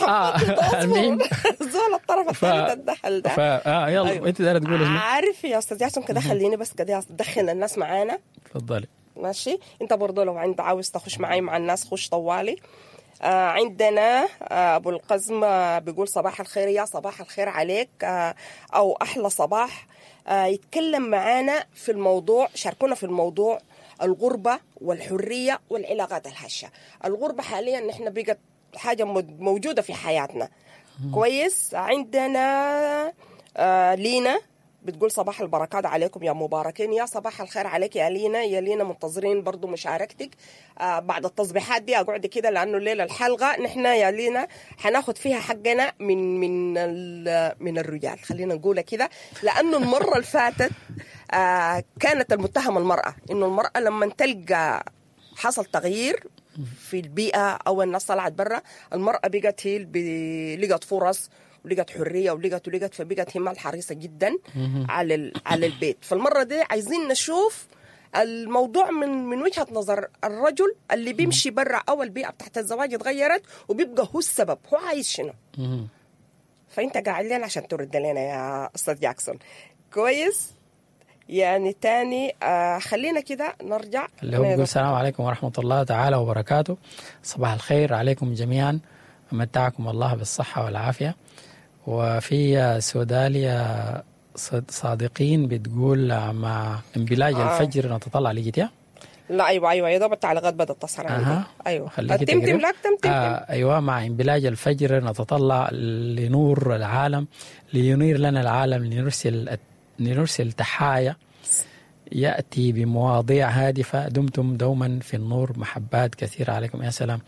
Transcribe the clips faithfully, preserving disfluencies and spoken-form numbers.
آه المهم زول الطرف الثالث الدخل ده. فا اه يلا. أيوة. انت دايرة تقول شنو؟ عارف يا استاذ ياسم، كده خليني بس كده ادخل الناس معانا. تفضلي. ماشي، انت برضه لو عند عاوز تخش معاي مع الناس خش طوالي. آه عندنا آه ابو القزم آه بيقول صباح الخير، يا صباح الخير عليك، آه او احلى صباح. آه يتكلم معانا في الموضوع، شاركونا في الموضوع، الغربة والحرية والعلاقات الهشة. الغربة حاليا نحن بقت حاجة موجودة في حياتنا. كويس. عندنا آه لينا بتقول صباح البركات عليكم يا مباركين. يا صباح الخير عليك يا لينا. يا لينا منتظرين برضو مشاركتك آه بعد التصبيحات دي. اقعد كده لانه الليلة الحلقة نحن يا لينا حناخد فيها حقنا من من من الرجال، خلينا نقولها كده، لانه المرة اللي فاتت آه كانت المتهمه المراة، انه المراة لما تلقى حصل تغيير في البيئة او الناس طلعت برا، المراة بقت هي لقت فرص ولقت حرية ولقت ولقت فبقت هي الحريصه جدا على على البيت. فالمره دي عايزين نشوف الموضوع من من وجهه نظر الرجل اللي بيمشي برا او البيئة بتاعت الزواج اتغيرت وبيبقى هو السبب، هو عايز شنو. فانت قاعد لنا عشان ترد لنا يا استاذ جاكسون. كويس. يعني تاني آه خلينا كده نرجع اللي هو بيقول السلام عليكم ورحمة الله تعالى وبركاته، صباح الخير عليكم جميعا، متعكم الله بالصحة والعافية. وفي سوداليا صادقين بتقول مع انبلاج آه. الفجر نتطلع لقيتيها؟ لا ايوه ايوه يا دوب التعليقات بدات تصل عندي. أه. ايوه تمتم لك تمتم. آه ايوه، مع انبلاج الفجر نتطلع لنور العالم، لينير لنا العالم، لنرسل لنرسل تحايا يأتي بمواضيع هادفة، دمتم دوما في النور، محبات كثيرة عليكم. يا سلام،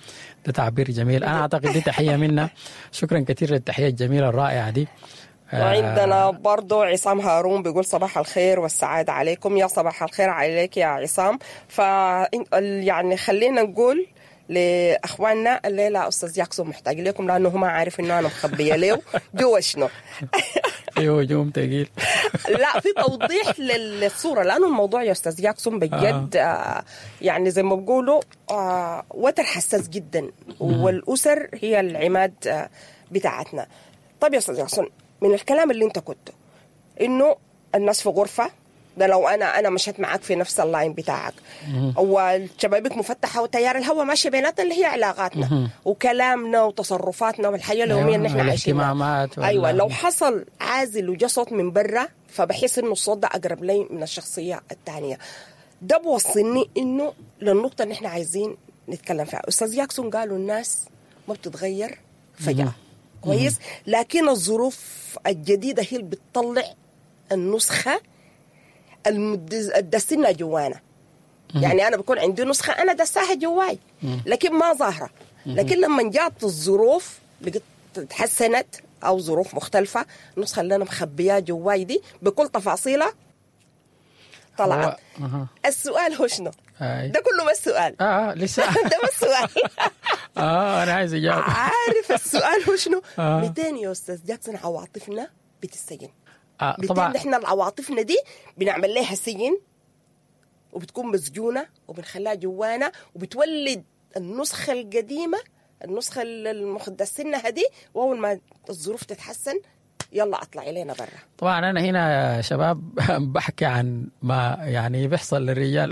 ده تعبير جميل. أنا أعتقد دي تحية منا. شكرا كثير للتحية الجميلة الرائعة دي. وعندنا برضو عصام هارون بيقول صباح الخير والسعادة عليكم. يا صباح الخير عليك يا عصام. ف يعني خلينا نقول لأخواننا الليلة أستاذ ياكسون محتاج لكم، لأنه هو ما عارف إنه أنا مخبية له جوا شنو. في هجوم ثقيل. لا، في توضيح للصورة، لأنه الموضوع يا أستاذ ياكسون بجد آه. آه يعني زي ما بقولوا آه وتر حساس جدا، والأسر هي العماد آه بتاعتنا. طيب يا أستاذ ياكسون، من الكلام اللي أنت كنته إنه الناس في غرفة، ده لو انا انا مشيت معاك في نفس ال line بتاعك، والشبابيك مفتحة وتيار الهواء ماشي بيناتنا اللي هي علاقاتنا وكلامنا وتصرفاتنا والحياة اليومية اللي احنا عايشينها. ايوه، لو حصل عازل وجا صوت من برا، فبحس انه الصوت ده اقرب لي من الشخصية الثانية. ده بوصلني انه للنقطة اللي احنا عايزين نتكلم فيها. استاذ ياكسون قالوا الناس ما بتتغير فجاة. كويس، لكن الظروف الجديدة هي اللي بتطلع النسخة الدسنا جوانا. يعني أنا بكون عندي نسخة أنا دساها جواي لكن ما ظاهرة، لكن لما جات الظروف لقيت تحسنت أو ظروف مختلفة، النسخة اللي أنا مخبيها جواي دي بكل تفاصيلها طلعت. أه. السؤال هو شنو؟ ده كله ما السؤال. اه لسه ده ما السؤال. اه أنا عايز أجاوب. عارف السؤال هو شنو؟ آه. مئتين يا أستاذ جاكسون عواطفنا بتسجن. آه طبعا احنا العواطفنا دي بنعمل لها سجن، وبتكون مسجونه وبنخليها جوانا، وبتولد النسخة القديمة، النسخة المخدسينها دي، واول ما الظروف تتحسن يلا اطلع الينا برا. طبعا انا هنا يا شباب بحكي عن ما يعني بيحصل للرجال.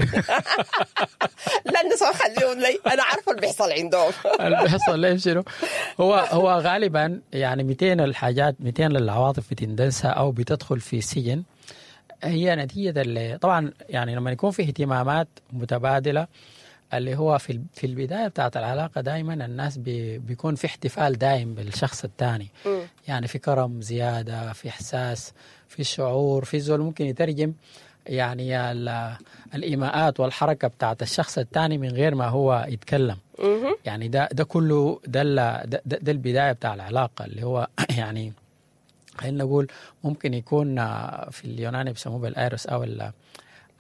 لا النسوان خليهم لي، انا عارفه اللي بيحصل عندهم. اللي بيحصل لهم شنو؟ هو هو غالبا يعني مئتين الحاجات، مئتين للعواطف بتندسها او بتدخل في سجن، هي نتيجة اللي طبعا يعني لما يكون في اهتمامات متبادلة، اللي هو في في البداية بتاعت العلاقة دائما الناس بي بيكون في احتفال دائم بالشخص الثاني. يعني في كرم زيادة، في احساس، في شعور، في زول ممكن يترجم يعني الايماءات والحركة بتاعت الشخص الثاني من غير ما هو يتكلم. يعني ده ده كله ده ده, ده البداية بتاع العلاقة، اللي هو يعني خلينا نقول ممكن يكون في اليوناني بيسموه بالايروس، او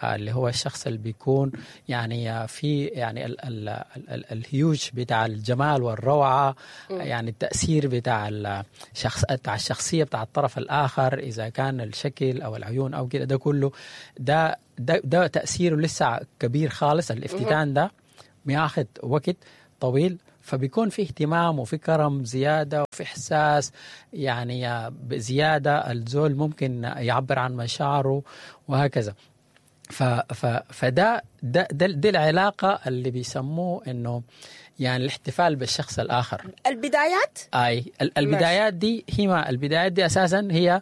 اللي هو الشخص اللي بيكون يعني في يعني ال ال ال الهيوج بتاع الجمال والروعة، يعني التأثير بتاع الشخص بتاع الشخصية بتاع الطرف الآخر، إذا كان الشكل أو العيون أو كده، ده كله ده ده, ده تأثيره لسه كبير خالص. الافتتان ده بياخد وقت طويل. فبيكون في اهتمام وفي كرم زيادة وفي احساس يعني زيادة، الزول ممكن يعبر عن مشاعره وهكذا. ف ف فده ده, ده دي العلاقة اللي بيسموه انه يعني الاحتفال بالشخص الاخر. البدايات؟ اي البدايات دي هي ما البدايات دي اساسا هي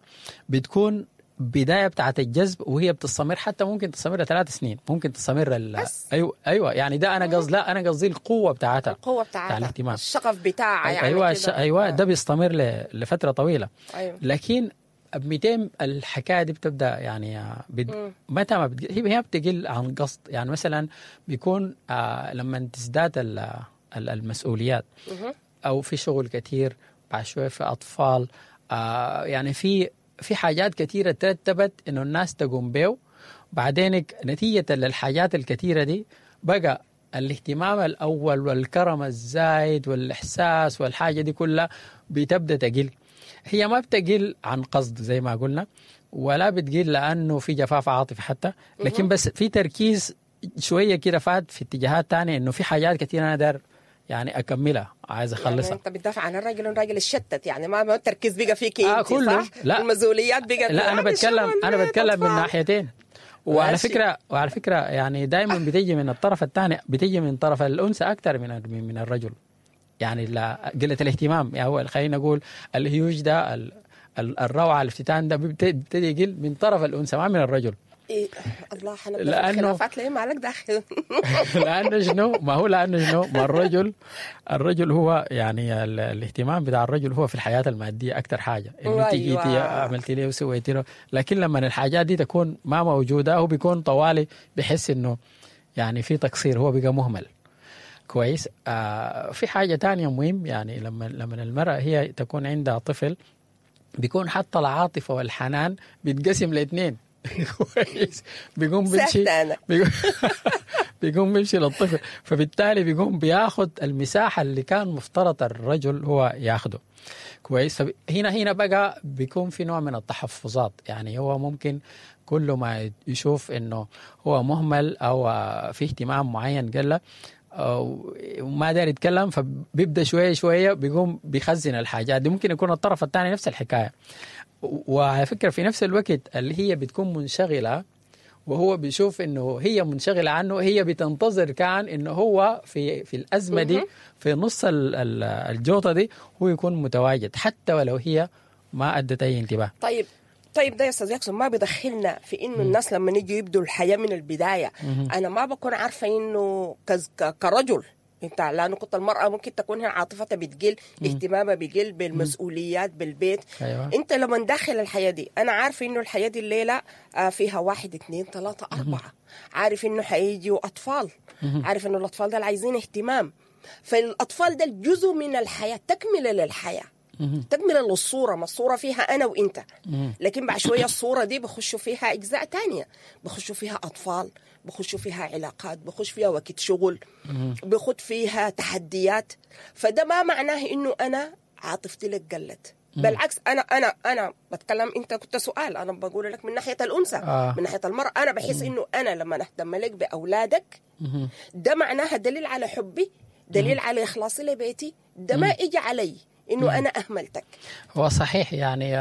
بتكون بداية بتاعت الجذب، وهي بتستمر حتى ممكن تستمر ثلاث سنين، ممكن تستمر ال... ايوه ايوه يعني ده انا قصدي، لا انا قصدي القوة بتاعتها، القوة بتاعتها، بتاع الاهتمام، الشغف بتاعها يعني. ايوه الش... ايوه ده بيستمر ل... لفترة طويلة. ايوه لكن مئتين الحكاية دي بتبدا يعني بت... متى ما بتقل، هي بتقل عن قصد. يعني مثلا بيكون آه لما تزداد ال... المسؤوليات او في شغل كثير، بعد شوية في اطفال، آه يعني في في حاجات كثيرة ترتبت إنه الناس تقوم بيه. بعدين نتيجة للحاجات الكثيرة دي بقى الاهتمام الأول والكرم الزايد والإحساس والحاجة دي كلها بتبدأ تقل. هي ما بتقل عن قصد زي ما قلنا، ولا بتقل لأنه في جفاف عاطفي حتى، لكن بس في تركيز شوية كده فات في اتجاهات تانية، إنه في حاجات كثيرة أنا دار يعني اكملها، عايز اخلصها. يعني انت بتدافع عن الراجل، الراجل اتشتت يعني ما التركيز بقى فيك آه انت، كله صح؟ لا المسؤوليات بقت. لا انا بتكلم انا بتكلم من ناحيتين. وعلى فكرة وعلى فكرة يعني دائما بتيجي من الطرف الثاني، بتيجي من طرف الانثى اكثر من من الرجل. يعني لا قلة الاهتمام، يعني هو خلينا نقول الهيوج ده، الروعة، الافتتان ده بيبتدي يقل من طرف الانثى ما من الرجل. إيه الله حنبدا في الخلافات ليه مالك داخل؟ لانه شنو؟ ما هو لانه شنو؟ ما الرجل الرجل هو يعني الاهتمام بتاع الرجل هو في الحياة المادية اكثر حاجة، انه انت جيتي عملتي لي وسويتي له، لكن لما الحاجات دي تكون ما موجودة هو بيكون طوالي بيحس انه يعني في تقصير، هو بقى مهمل. كويس. آه في حاجة ثانية مهم، يعني لما لما المراة هي تكون عندها طفل بيكون حتى العاطفة والحنان بيتقسم لاثنين. كويس. بيقوم بيمشي بيقوم بيمشي للطفل، فبالتالي بيقوم بياخد المساحة اللي كان مفترض الرجل هو ياخده. كويس. فهنا هنا بقى بيكون في نوع من التحفظات، يعني هو ممكن كل ما يشوف انه هو مهمل او في اهتمام معين قال وما داري يتكلم، فبيبدا شوية شوية بيقوم بيخزن الحاجات دي. ممكن يكون الطرف الثاني نفس الحكاية. وعلى فكرة في نفس الوقت اللي هي بتكون منشغلة وهو بيشوف انه هي منشغلة عنه، هي بتنتظر كان انه هو في في الأزمة دي، في نص الجوطة دي، هو يكون متواجد حتى ولو هي ما أدت أي انتباه. طيب طيب ده يا استاذ ياكسون ما بيدخلنا في انه الناس لما نيجي يبدوا الحياة من البداية. انا ما بكون عارفة انه كرجل انت، لانه كنت المرأة ممكن تكون هي عاطفتها بتقل، اهتمامها بيقل بالمسؤوليات بالبيت. أيوة. انت لما داخل الحياة دي انا عارفة انه الحياة دي الليلة فيها واحد اثنين ثلاثة أربعة، عارف انه حيجوا أطفال، عارف انه الأطفال ده عايزين اهتمام، فالأطفال ده جزء من الحياة، تكملة للحياة، تكملة للصورة. ما الصورة فيها أنا وإنت، لكن بعد شوية الصورة دي بخشوا فيها أجزاء تانية، بخشوا فيها أطفال، بخشوا فيها علاقات، بخش فيها وقت شغل، بخد فيها تحديات. فده ما معناه إنه أنا عاطفتي لك قلت، بالعكس أنا أنا أنا بتكلم، أنت كنت سؤال، أنا بقول لك من ناحية الأنثى، آه. من ناحية المرأة أنا بحس إنه أنا لما أهتم لك بأولادك ده معناها دليل على حبي، دليل على إخلاصي لبيتي، ده ما إجي علي إنه أنا أهملتك. هو صحيح، يعني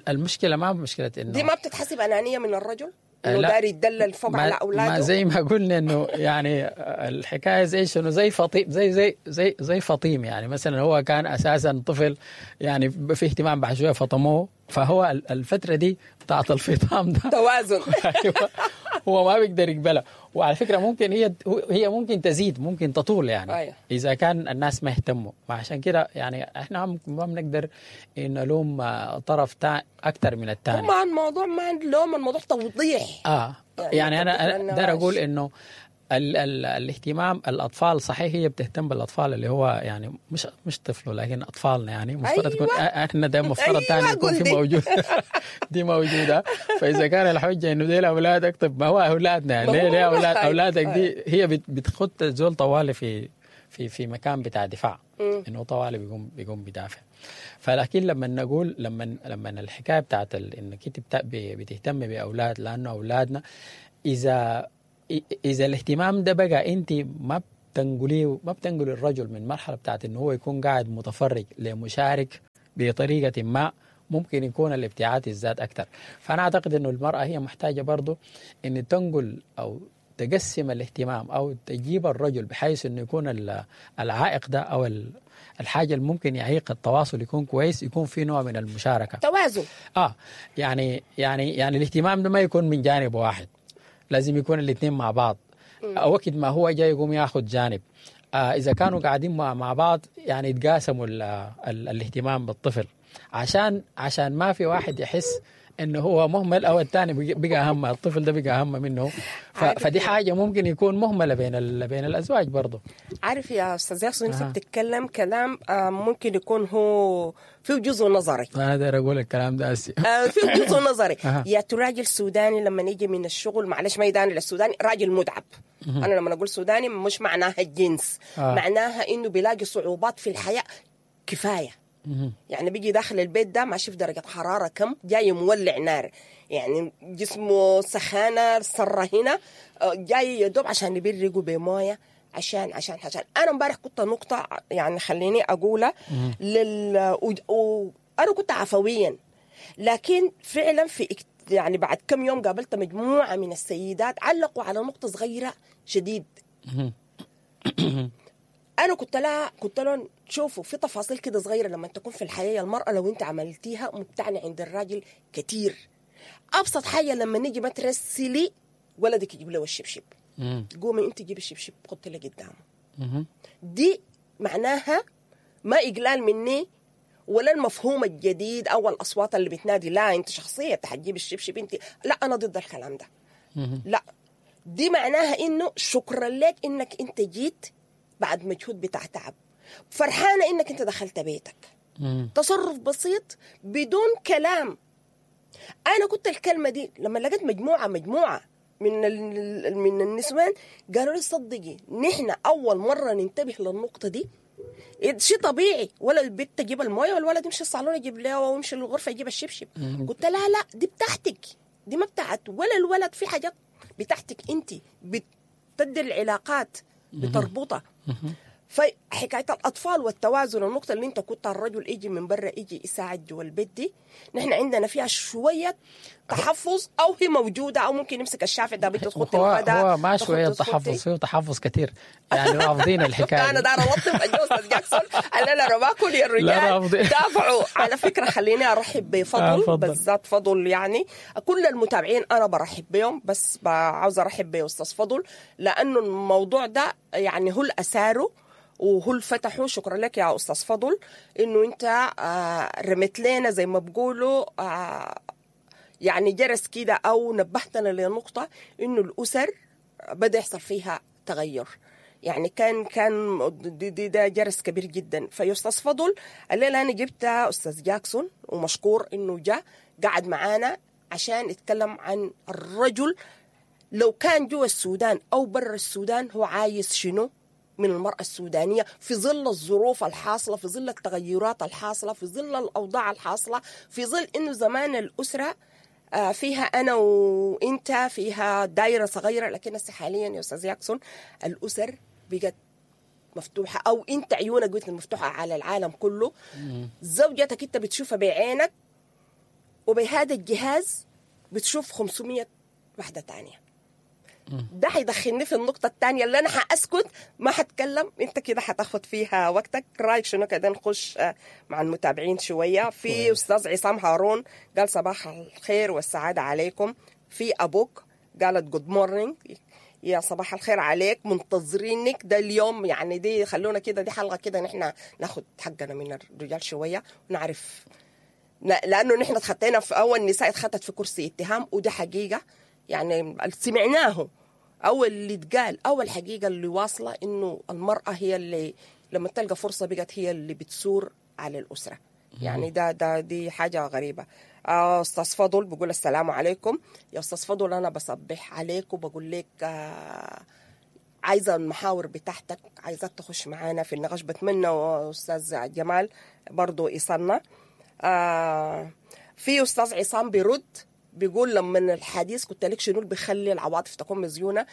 المشكلة ما مشكلة إنه دي ما بتتحسب أنانية من الرجل إنه داري يتدلل فوق على أولاده. ما زي ما قلنا إنه يعني الحكاية زي شنو، زي فطيم، زي زي زي زي فطيم، يعني مثلا هو كان أساسا طفل يعني في اهتمام، بعد شوية فطموه، فهو الفترة دي بتاعت الفطام ده توازن. أيوة، هو ما بيقدر يقبلها. وعلى فكرة ممكن هي هي ممكن تزيد، ممكن تطول يعني. أيوة. إذا كان الناس ما اهتموا. عشان كده يعني إحنا ما بنقدر نلوم طرف أكثر من الثاني. ما الموضوع ما لوم، الموضوع توضيح. آه يعني, يعني أنا أقدر أقول إنه ال ال الاهتمام الأطفال، صحيح هي بتهتم بالأطفال اللي هو يعني مش مش طفله لكن أطفالنا، يعني مفترض أيوة. تكون احنا ده مفترض أيوة تاني يكون في موجود دي موجودة. فإذا كان الحجة إنه دي أولادك، طب ما هو أولادنا يعني، ليه ليه أولاد أولادك دي هي بتخط زول طوالي في في في مكان بتاع دفاع، إنه طوالي بيقوم بيقوم بدافع. فلكن لما نقول لما لما الحكاية بتاعت إنك أنت بتهتم بأولاد لأنه أولادنا، إذا إذا الاهتمام ده بقى أنت ما بتنقليه، ما بتنقل الرجل من مرحلة بتاعت انه هو يكون قاعد متفرج لمشارك بطريقة ما، ممكن يكون الابتعاد يزداد اكثر. فانا اعتقد انه المراة هي محتاجه برضه ان تنقل او تقسم الاهتمام او تجيب الرجل بحيث انه يكون العائق ده او الحاجة اللي ممكن يعيق التواصل يكون كويس، يكون في نوع من المشاركة، توازن. اه يعني يعني يعني الاهتمام ده ما يكون من جانب واحد، لازم يكون الاثنين مع بعض. وقت ما هو جاي يقوم ياخذ جانب، آه اذا كانوا قاعدين مع بعض يعني يتقاسموا ال ال الاهتمام بالطفل، عشان عشان ما في واحد يحس انه هو مهمل او الثاني بقى اهم، الطفل ده بقى اهم منه. فدي حاجة ممكن يكون مهملة بين ال... بين الازواج برضه. عارف يا استاذ ياسر، انت آه. بتتكلم كلام ممكن يكون هو فيه جزء نظري. انا داير اقول الكلام ده هسي. آه فيه جزء نظري. آه. يا راجل سوداني لما يجي من الشغل، معلش ما يداني للسوداني، راجل متعب. انا لما اقول سوداني مش معناها الجنس، آه. معناها انه بيلاقي صعوبات في الحياة كفاية. يعني بيجي داخل البيت ده ما شوف درجة حرارة كم، جاي مولع نار، يعني جسمه سخانة صرة هنا، جاي يدوب عشان يبرقه بموية، عشان عشان عشان أنا امبارح كنت نقطة يعني خليني أقولها لل و... و... أنا كنت عفويا، لكن فعلا في يعني بعد كم يوم قابلت مجموعة من السيدات علقوا على نقطة صغيرة شديد. أنا كنت لها كنت لهم شوفوا في تفاصيل كده صغيرة لما تكون في الحياة المرأة لو أنت عملتيها مبتعني عند الراجل كتير. أبسط حاجة لما نيجي ما ترسلي ولدك يجيب له الشبشب، قومي أنت جيبي الشبشب حطي له قدامه. دي معناها ما إقلال مني ولا المفهوم الجديد أو الأصوات اللي بتنادي لا أنت شخصية حتجيب الشبشب أنت، لا أنا ضد الكلام ده. لا دي معناها إنه شكرا لك إنك أنت جيت بعد مجهود بتاع تعب، فرحانة إنك أنت دخلت بيتك. مم. تصرف بسيط بدون كلام. أنا كنت الكلمة دي لما لقيت مجموعة مجموعة من من النسوان قالوا لي صدقي نحن أول مرة ننتبه للنقطة دي. شيء طبيعي، ولا البنت تجيب الموية والولد يمشي الصالون يجيب له ويمشي الغرفة يجيب الشبشب. قلت لها لا دي بتاعتك، دي ما بتاعت ولا الولد، في حاجات بتاعتك أنت بتدي العلاقات بتربطها. فحكاية الأطفال والتوازن، النقطة اللي انت كنت الرجل يجي من برا يجي يساعد جوا البيت دي، نحن عندنا فيها شوية تحفظ، أو هي موجودة، أو ممكن يمسك الشافع ده بتخط الغداء. هو ما شوية تحفظ، فيه تحفظ كثير يعني، رافضين الحكاية. أنا دار أوطف الجوز جاكسون قال أنا رباكل يا الرجال دافعوا. على فكرة خليني أرحب بفضل، بالذات فضل، يعني كل المتابعين أنا برحب بهم، بس عاوز أرحب بأستاذ فضل لأنه الموضوع ده يعني هو الأساره وهو اللي فتحه. شكرا لك يا أستاذ فضل إنه أنت رميت لنا زي ما بقولوا يعني جرس كده، أو نبهتنا لنقطة إنه الأسر بدأ يحصل فيها تغير، يعني كان كان دي, دي ده جرس كبير جدا. فيا أستاذ فضل الليلة أنا جبت أستاذ جاكسون ومشكور إنه جاء قعد معانا عشان يتكلم عن الرجل لو كان جوا السودان أو برا السودان هو عايز شنو من المرأة السودانية في ظل الظروف الحاصلة، في ظل التغيرات الحاصلة، في ظل الأوضاع الحاصلة، في ظل إنه زمان الأسرة فيها أنا وإنت فيها دايرة صغيرة، لكن حاليا يا أستاذ ياكسون الأسر بقت مفتوحة، أو إنت عيونك بقت مفتوحة على العالم كله. زوجتك إنت بتشوفها بعينك، وبهذا الجهاز بتشوف خمسمية واحدة تانية. ده هيدخلني في النقطة الثانية اللي أنا هأسكت ما هتكلم، أنت كده هتاخد فيها وقتك. رأيك شنو كده نخش مع المتابعين شوية؟ في أستاذ عصام هارون قال صباح الخير والسعادة عليكم. في أبوك قالت good morning، يا صباح الخير عليك، منتظرينك ده اليوم. يعني دي خلونا كده، دي حلقة كده نحن ناخد حقنا من الرجال شوية ونعرف، لأنه نحن اتخطينا في أول نساء اتخطت في كرسي اتهام، وده حقيقة يعني سمعناه أو اللي اتقال أو الحقيقة اللي واصلة إنه المرأة هي اللي لما تلقى فرصة بقت هي اللي بتسور على الأسرة. يعني ده ده دي حاجة غريبة. أستاذ فضل بقول السلام عليكم. يا أستاذ فضل أنا بصبح عليك وبقول لك آه عايزة المحاور بتاعتك، عايزاك تخش معانا في النقاش. بتمنى أستاذ جمال برضو يصلنا. آه في أستاذ عصام بيرد بيقول لما الحديث كنت لك شنو اللي بيخلي العواطف تكون مزيونة،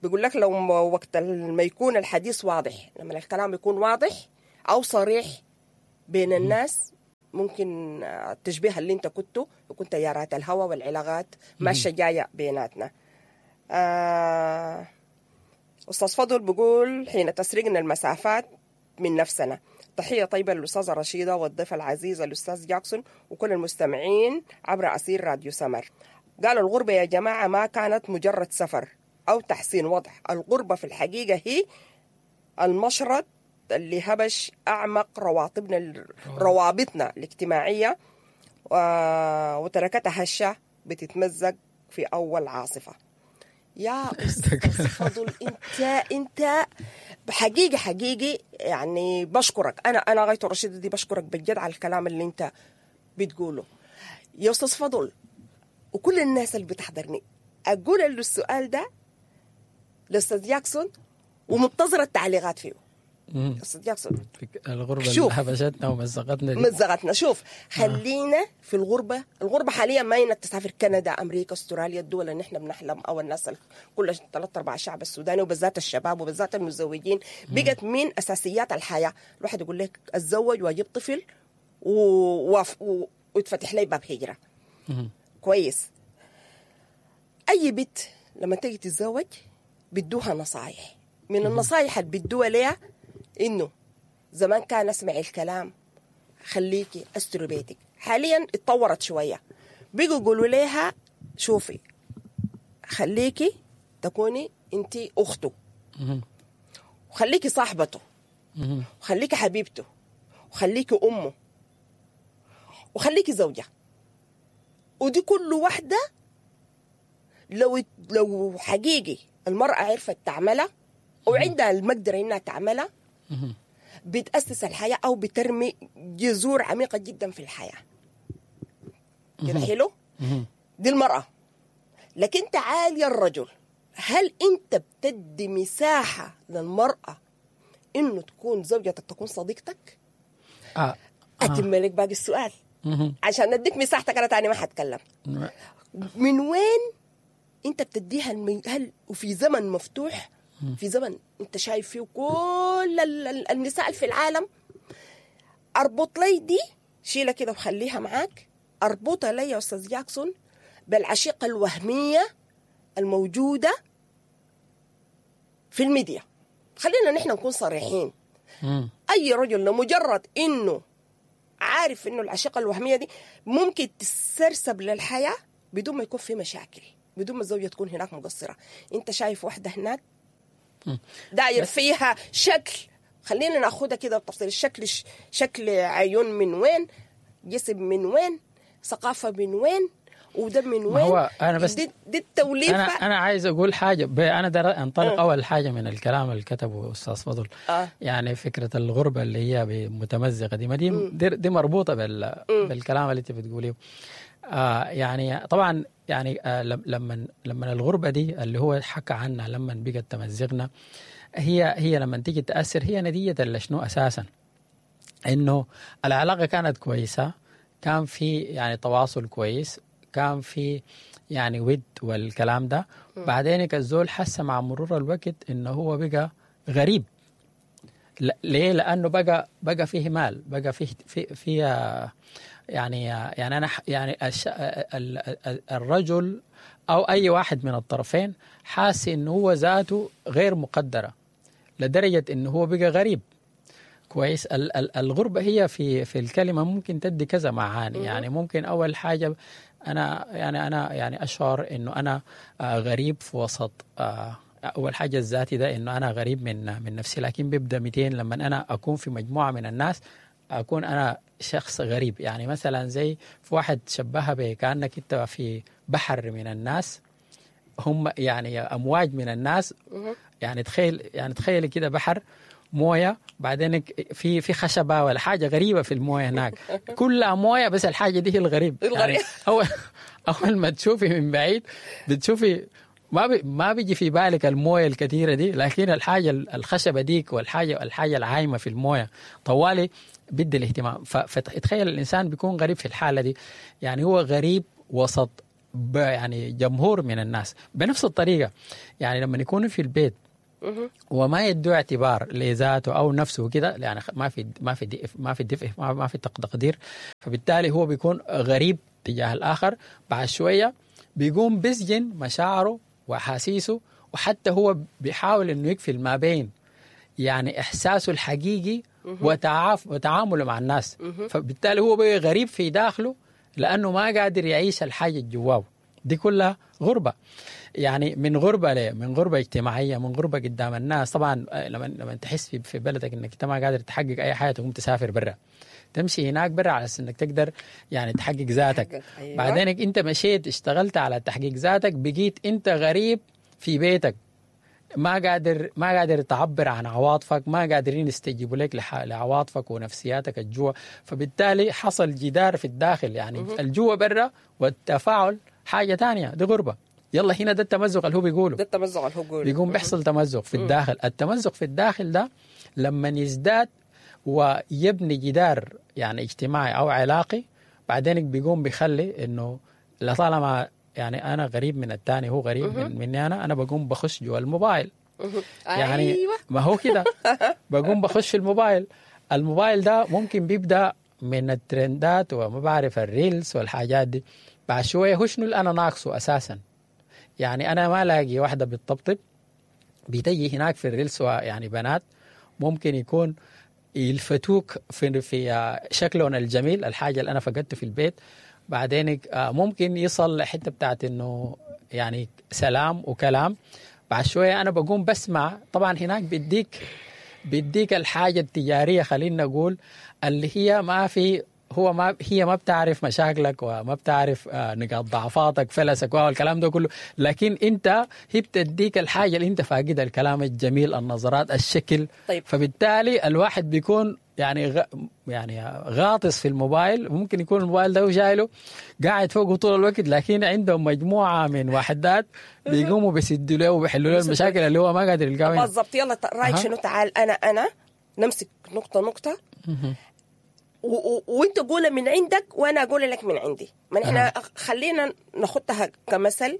بيقول لك لو وقت ما يكون الحديث واضح، لما الكلام يكون واضح او صريح بين الناس، ممكن التشبيه اللي انت كنته يكون تيارات الهواء والعلاقات ماشية جاية بيناتنا. آه استاذ فضل بيقول حين تسرقنا المسافات من نفسنا. تحية طيبة للأستاذة رشيدة والضيف العزيز الأستاذ جاكسون وكل المستمعين عبر أثير راديو سمر. قال الغربة يا جماعة ما كانت مجرد سفر أو تحسين وضع، الغربة في الحقيقة هي المشرط اللي هبش أعمق روابطنا روابطنا الاجتماعية وتركتها هشة بتتمزق في أول عاصفة. يا أستاذ فضل أنت أنت حقيقي حقيقي يعني بشكرك. أنا أنا غاية رشيدة دي بشكرك بجد على الكلام اللي أنت بتقوله يا أستاذ فضل. وكل الناس اللي بتحضرني أقول له السؤال ده لأستاذ جاكسون ومنتظرة التعليقات فيه. أستاذ جاكسون الغربة اللي حبشتنا ومزقتنا دي. مزقتنا. شوف خلينا في الغربة. الغربة حاليا ما إنك تسافر كندا أمريكا أستراليا، الدول اللي نحن بنحلم أو الناس كل ثلاث أرباع الشعب السوداني وبالذات الشباب وبالذات المتزوجين بقت من أساسيات الحياة. الواحد يقول لك أتزوج وأجيب طفل و... و... ويتفتح لي باب هجرة. مم. كويس. أي بنت لما تيجي تتزوج بدوها نصايح. من النصايح اللي بدوها ليها إنه زمان كان أسمع الكلام خليكي أستر بيتك. حاليا اتطورت شوية، بيجوا يقولوا ليها شوفي خليكي تكوني انت أخته، وخليكي صاحبته، وخليكي حبيبته، وخليكي أمه، وخليكي زوجة. ودي كل واحدة لو لو حقيقي المرأة عرفت تعملها وعندها المقدرة إنها تعملها بتأسس الحياة أو بترمي جذور عميقة جدا في الحياة. كده حلو؟ دي المرأة. لكن تعال يا الرجل، هل أنت بتدي مساحة للمرأة إنه تكون زوجتك تكون صديقتك؟ آه. آه. أتم لك باقي السؤال عشان أديك مساحتك، أنا تاني ما حتكلم. من وين أنت بتديها المي... هل وفي زمن مفتوح، في زمن انت شايف فيه كل النساء في العالم، اربط لي دي شيلة كده وخليها معاك، اربطها لي يا استاذ جاكسون بالعشيقة الوهمية الموجودة في الميديا. خلينا نحن نكون صريحين. مم. اي رجل لمجرد انه عارف انه العشيقة الوهمية دي ممكن تسرسب للحياة بدون ما يكون في مشاكل، بدون ما الزوجة تكون هناك مقصرة. انت شايف واحدة هناك داير فيها شكل، خلينا ناخدها كده بالتفصيل، الشكل شكل عيون من وين، جسم من وين، ثقافة من وين، وده من وين. هو أنا بس دي, دي التوليفة. أنا, أنا عايز أقول حاجة، أنا در أنطلق أه. أول حاجة من الكلام اللي كتبه أستاذ فضل. أه. يعني فكرة الغربة اللي هي متمزقة دي ما دي, دي, دي مربوطة بال بالكلام اللي أنت بتقوليه. آه يعني طبعا يعني آه لما لما الغربة دي اللي هو حكى عنها لما بقت تمزقنا، هي هي لما تيجي تأثر هي نتيجة لشنو أساسا؟ إنه العلاقة كانت كويسة، كان في يعني تواصل كويس، كان في يعني ود والكلام ده. بعدين الزول حس مع مرور الوقت إنه هو بقى غريب. ليه؟ لأنه بقى بقى فيه مال، بقى فيه في في يعني يعني أنا يعني الرجل أو أي واحد من الطرفين حاسس إنه هو ذاته غير مقدرة لدرجة إنه هو بقى غريب. كويس. الغربة هي في في الكلمة ممكن تدي كذا معاني. يعني ممكن أول حاجة أنا يعني أنا يعني أشعر إنه أنا غريب في وسط، أول حاجة الذاتي ده إنه أنا غريب من من نفسي، لكن بيبدأ مئتين لما أنا أكون في مجموعة من الناس أكون أنا شخص غريب. يعني مثلا زي في واحد شبهها بكأنك أنت في بحر من الناس، هم يعني أمواج من الناس. يعني تخيل يعني تخيل كده بحر مويه، بعدين في في خشبه ولا حاجة غريبة في المويه هناك، كلها مويه بس الحاجة دي هي الغريب. يعني اول اول ما تشوفي من بعيد بتشوفي ما بي ما بيجي في بالك المويه الكثيرة دي، لكن الحاجة الخشبة ديك والحاجة الحاجة العايمه في المويه طوالي بدي الاهتمام. فتخيل الانسان بيكون غريب في الحالة دي، يعني هو غريب وسط يعني جمهور من الناس بنفس الطريقة. يعني لما يكونوا في البيت وما يدوا اعتبار لذاته او نفسه كده، يعني ما في ما في ما في دفء، ما في تقدير، فبالتالي هو بيكون غريب تجاه الاخر. بعد شوية بيقوم بيسجن مشاعره واحاسيسه، وحتى هو بيحاول انه يقفل ما بين يعني احساسه الحقيقي وتعاف وتعامله مع الناس، فبالتالي هو بقى غريب في داخله لانه ما قادر يعيش الحاجة جواه دي كلها غربه. يعني من غربه ليه؟ من غربه اجتماعية، من غربه قدام الناس. طبعا لما لما تحس في, في بلدك انك انت ما قادر تحقق اي حاجة، تقوم تسافر برا، تمشي هناك برا على اساس انك تقدر يعني تحقق ذاتك. أيوة. بعدين انت مشيت اشتغلت على تحقيق ذاتك، بقيت انت غريب في بيتك، ما قادر ما قادر تعبر عن عواطفك، ما قادرين يستجيبوا لك لعواطفك ونفسياتك الجوا، فبالتالي حصل جدار في الداخل، يعني الجوا برا والتفاعل حاجة تانية، دي غربه. يلا هنا ده التمزق اللي هو بيقوله، ده التمزق اللي هو بيقوله، بيقوم بيحصل تمزق في الداخل. التمزق في الداخل ده لما يزداد ويبني جدار يعني اجتماعي او علاقي، بعدين بيقوم بيخلي انه لطالما يعني انا غريب من الثاني، هو غريب من مني انا، انا بقوم بخش جوا الموبايل. يعني أيوة. ما هو كده بقوم بخش في الموبايل. الموبايل ده ممكن بيبدا من الترندات وما بعرف ال reels والحاجات دي. بعد شوية هو شنو اللي انا ناقصه اساسا؟ يعني انا ما لاقي واحدة بتطبطب، بتجي هناك في ال reels يعني بنات ممكن يكون يلفتوك في في شكلهم الجميل، الحاجة اللي انا فقدته في البيت. بعدين ممكن يصل لحته بتاعت انه يعني سلام وكلام. بعد شوية انا بقوم بسمع، طبعا هناك بيديك بيديك الحاجة التجارية، خلينا نقول اللي هي ما في، هو ما هي ما بتعرف مشاكلك وما بتعرف نقاط ضعفاتك، فلسك والكلام ده كله، لكن انت هي بتديك الحاجة اللي انت فاقدها، الكلام الجميل، النظرات، الشكل. طيب. فبالتالي الواحد بيكون يعني غ... يعني غاطس في الموبايل، ممكن يكون الموبايل ده وشايله قاعد فوقه طول الوقت، لكن عندهم مجموعة من وحدات بيقوموا بيسدوا له وبيحلوا له المشاكل اللي هو ما قادر يلقاها. بالضبط. يلا رايك شنو؟ تعال انا انا نمسك نقطة نقطة، وانت قولها من عندك وانا اقول لك من عندي. ما احنا خلينا ناخدها كمثل،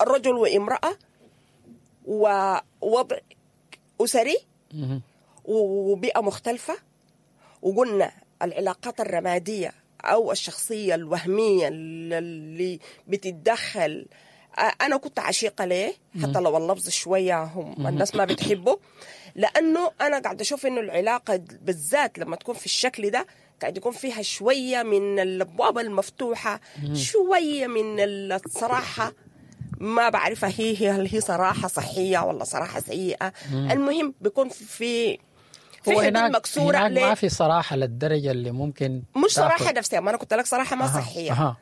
الرجل وامراة ووضع اسري وبيئه مختلفة، وقلنا العلاقات الرمادية او الشخصية الوهمية اللي بتتدخل. انا كنت عشيقه ليه، حتى لو اللفظ شوية هم الناس ما بتحبه، لانه انا قاعدة اشوف انه العلاقة بالذات لما تكون في الشكل ده قاعد يكون فيها شوية من الابواب المفتوحة، شوية من الصراحة، ما بعرفها هي هل هي صراحة صحية ولا صراحة سيئه. المهم بيكون في في حدود مكسورة. هناك ما في صراحة للدرجة اللي ممكن، مش صراحة نفسية، ما انا كنت لك صراحة ما صحية. أه.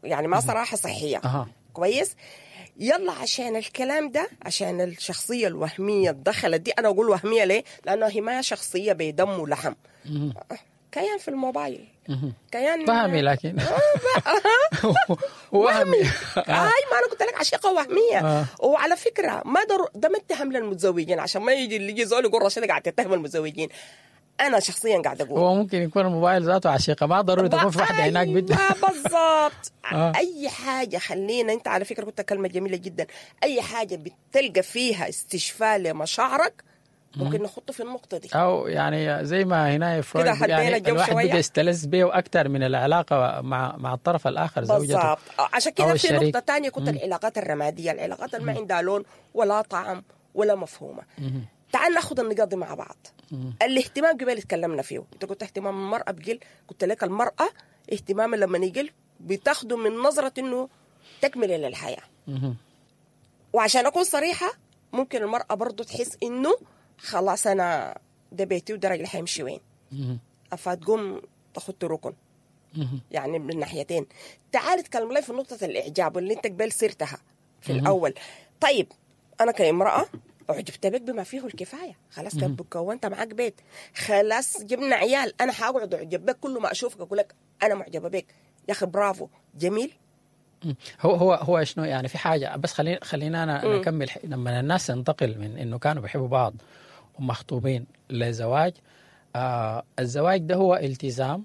يعني ما صراحة صحية. أه. كويس. يلا عشان الكلام ده، عشان الشخصية الوهمية دخلت دي، أنا أقول وهمية ليه؟ لأنه هي ما شخصية بدم ولحم، كيان في الموبايل، كيان وهمي، لكن وهمي. هاي ما أنا قلت لك عشيقة وهمية. وعلى فكرة ما در... ده ما اتهم للمتزوجين، عشان ما يجي اللي يجي زول يقول رشيدة قاعد تتهم المتزوجين. أنا شخصياً قاعدة أقول هو ممكن يكون الموبايل ذاته عشيقة، ما ضروري تكون في واحدة هناك بدها. بالضبط. آه. أي حاجة خلينا، أنت على فكرة كنت كلمة جميلة جدا، أي حاجة بتلقى فيها استشفاء لمشاعرك ممكن نحطه في النقطة دي. أو يعني زي ما هنا فرويد يعني الواحد بقى يستلذ به أكثر من العلاقة مع مع الطرف الآخر زوجته. بالضبط. عشان كده في نقطة تانية كنت العلاقات الرمادية، العلاقات اللي ما عندها لون ولا طعم ولا مفهومة. مم. تعال ناخذ النقاط دي مع بعض. مم. الاهتمام قبل تكلمنا فيه، انت قلت اهتمام المرأة بقل، قلت لك المرأة اهتمام لما يقل بتاخده من نظرة انه تكملة للحياة. مم. وعشان اكون صريحة ممكن المرأة برضو تحس انه خلاص انا ده بيتي وده راجل حيمشي وين، فتقوم تاخد ركن. يعني من الناحيتين. تعال اتكلم لي في نقطة الاعجاب اللي انت قبل سيرتها في مم. الاول. طيب انا كامرأة أعجبت بك بما فيه الكفاية، خلاص كونت معاك بيت، خلاص جبنا عيال، أنا حأقعد أعجب بك كل ما أشوفك أقول لك أنا معجبة بك يا أخي برافو جميل. هو هو هو شنو يعني في حاجة بس خلينا خلينا أنا نكمل. لما الناس تنتقل من إنه كانوا بيحبوا بعض ومخطوبين لزواج، آه الزواج ده هو التزام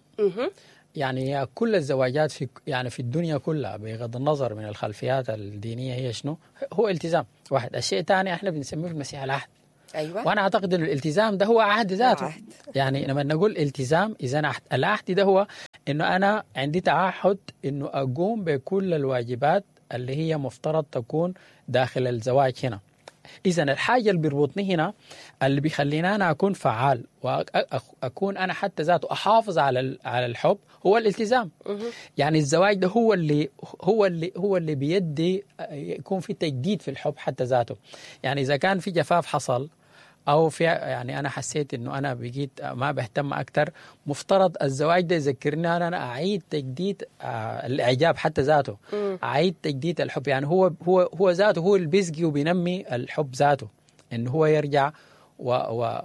يعني كل الزواجات في يعني في الدنيا كلها بغض النظر من الخلفيات الدينية هي شنو، هو التزام واحد. الشيء الثاني احنا بنسميه في المسيح العهد. ايوه، وانا اعتقد انه الالتزام ده هو عهد ذاته. عهد. يعني لما نقول التزام اذا عهد، العهد ده هو انه انا عندي تعهد انه اقوم بكل الواجبات اللي هي مفترض تكون داخل الزواج هنا. اذا الحاجة اللي بيربطني هنا اللي بيخليني انا اكون فعال واكون انا حتى ذاته احافظ على على الحب هو الالتزام. يعني الزواج ده هو اللي هو اللي هو اللي بيدي يكون في تجديد في الحب حتى ذاته. يعني اذا كان في جفاف حصل او في يعني انا حسيت انه انا بقيت ما بهتم اكثر، مفترض الزواج ده يذكرني انا اعيد تجديد آه الاعجاب حتى ذاته، اعيد تجديد الحب. يعني هو هو هو ذاته هو اللي بيسقي وبينمي الحب ذاته، انه هو يرجع و و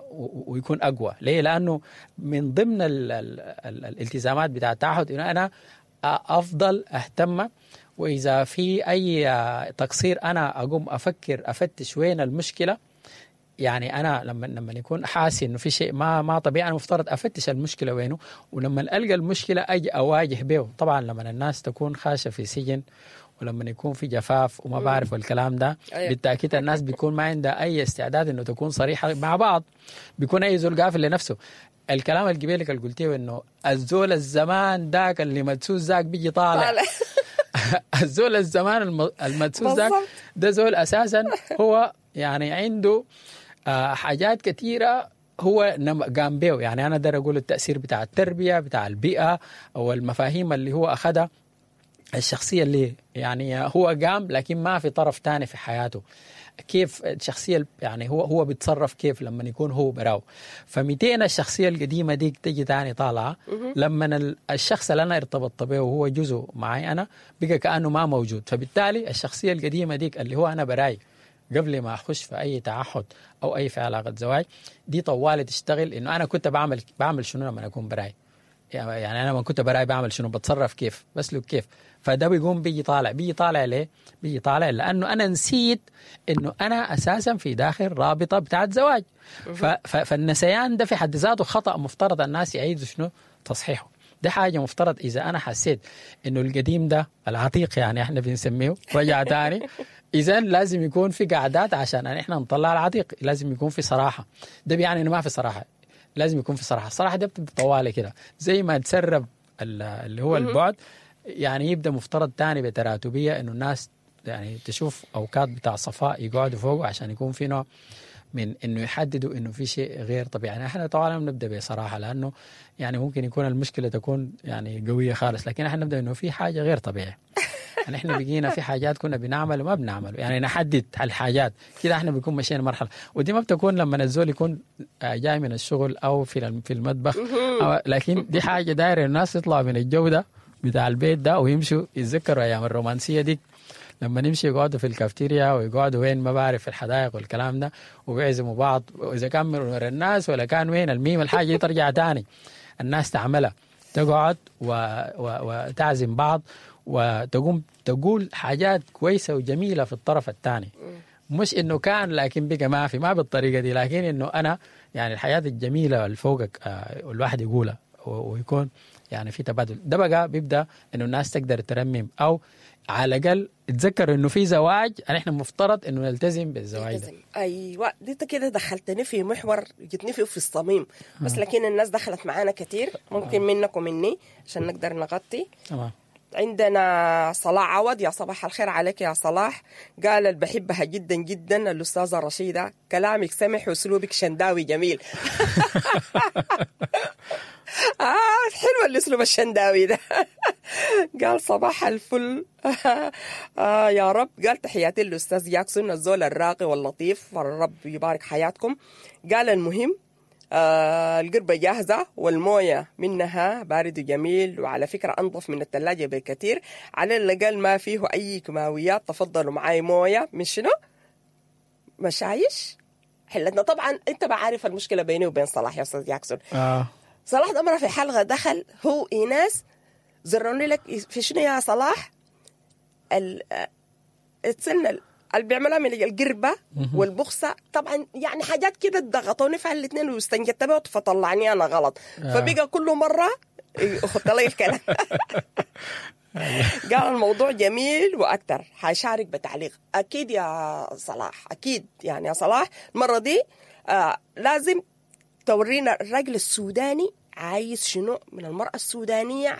ويكون اقوى. ليه؟ لانه من ضمن ال ال ال الالتزامات بتاع التعهد انه انا افضل اهتم، واذا في اي تقصير انا اقوم افكر افتش وين المشكلة. يعني انا لما لما يكون حاسس انه في شيء ما ما طبيعي، انا مفترض افتش المشكلة وينه، ولما القى المشكلة اجي اواجه به. طبعا لما الناس تكون خاشه في سجن ولما يكون في جفاف وما بعرف والكلام ده، بالتاكيد الناس بيكون ما عندها اي استعداد انه تكون صريحه مع بعض، بيكون اي زول قافل لنفسه. الكلام القبيلك اللي قلتيه انه الزول الزمان ذاك اللي مدسوس ذاك بيجي طالع. الزول الزمان المدسوس ذاك ده زول اساسا هو يعني عنده آه حاجات كثيرة هو قام بيه. يعني أنا دار أقول التأثير بتاع التربية بتاع البيئة أو المفاهيم اللي هو أخذها، الشخصية اللي يعني هو قام لكن ما في طرف تاني في حياته، كيف الشخصية يعني هو هو بيتصرف كيف لما يكون هو براو. فمتين الشخصية القديمة ديك تجي تاني طالعة لما الشخص اللي أنا ارتبطت به وهو جزء معي أنا بقى كأنه ما موجود. فبالتالي الشخصية القديمة ديك اللي هو أنا براي قبل ما أخش في أي تعهد أو أي في علاقة زواج دي طوالي تشتغل إنه أنا كنت بعمل بعمل شنو لما أكون براي، يعني أنا لما كنت براي بعمل شنو، بتصرف كيف، بسلك كيف. فده بيقوم بيجي طالع بيجي طالع ليه؟ بيجي طالع لأنه أنا نسيت إنه أنا أساسا في داخل رابطة بتاعت زواج. فالنسيان ده في حد ذاته خطأ، مفترض الناس يعيدوا شنو تصحيحه. ده حاجة مفترض إذا أنا حسيت إنه القديم ده العتيق يعني إحنا بنسميه رجع تاني، إذن لازم يكون في قعدات عشان إحنا نطلع العتيق، لازم يكون في صراحة. ده بيعني إنه ما في صراحة، لازم يكون في صراحة. الصراحة ده بتبقى طوالي كده زي ما تسرب اللي هو البعد، يعني يبدأ مفترض تاني بتراتبية إنه الناس يعني تشوف أوقات بتاع صفاء يقعدوا فوق عشان يكون في نوع من إنه يحددوا إنه في شيء غير طبيعي. يعني إحنا طبعا بنبدأ بصراحة لأنه يعني ممكن يكون المشكلة تكون يعني قوية خالص، لكن إحنا نبدأ إنه في حاجة غير طبيعية. يعني إحنا بقينا في حاجات كنا بنعمل وما بنعمل، يعني نحدد الحاجات كده إحنا بنكون ماشيين مرحلة. ودي ما بتكون لما الزول يكون جاي من الشغل أو في في المطبخ، أو لكن دي حاجة دايرة الناس يطلعوا من الجو ده بتاع البيت ده ويمشوا يتذكروا أيام الرومانسية دي لما نمشي يقعدوا في الكافتيريا ويقعدوا وين ما بعرف في الحدائق والكلام ده وبيعزموا بعض، وإذا كان من الناس ولا كان وين الميم الحاجة دي ترجع تاني الناس تعملها، تقعد و... و... وتعزم بعض وتقوم تقول حاجات كويسة وجميلة في الطرف الثاني، مش إنه كان لكن بقى ما في ما بالطريقة دي، لكن إنه أنا يعني الحياة الجميلة اللي فوقك الواحد يقولها ويكون يعني في تبادل. ده بقى بيبدأ إنه الناس تقدر ترمم أو على الأقل تذكر إنه في زواج، احنا مفترض إنه نلتزم بالزواج ده. أيوة، دي كده دخلتني في محور جتني فيه في الصميم، بس لكن الناس دخلت معانا كتير ممكن منك ومني عشان نقدر نغطي. تمام. عندنا صلاح عوض، يا صباح الخير عليك يا صلاح. قال اللي بحبها جدا جدا الأستاذة رشيدة، كلامك سمح وأسلوبك شنداوي جميل. آه حلو الأسلوب الشنداوي ده. قال صباح الفل. آه يا رب. قال تحياتي للأستاذ جاكسون الزول الراقي واللطيف، الرب يبارك حياتكم. قال المهم آه القربة جاهزة والموية منها بارد وجميل، وعلى فكرة أنظف من الثلاجة بكثير، على الأقل ما فيه أي كيماويات. تفضلوا معاي موية من شنو؟ مشايش حلتنا. طبعا أنت بعرف المشكلة بيني وبين صلاح يا أستاذ جاكسون. آه. صلاح ده مرة في حلقة دخل هو إيناس زروني لك في شنو يا صلاح؟ ال اتسنى اللي بيعملها من القربة والبخسة طبعا، يعني حاجات كده ضغطوني في الاثنين واستنجدت بها فطلعني أنا غلط. آه. فبقى كل مرة يخط لي الكلام. قال الموضوع جميل واكثر، حشارك بتعليق. اكيد يا صلاح، اكيد يعني يا صلاح المرة دي آه لازم تورينا الراجل السوداني عايز شنو من المرأة السودانية.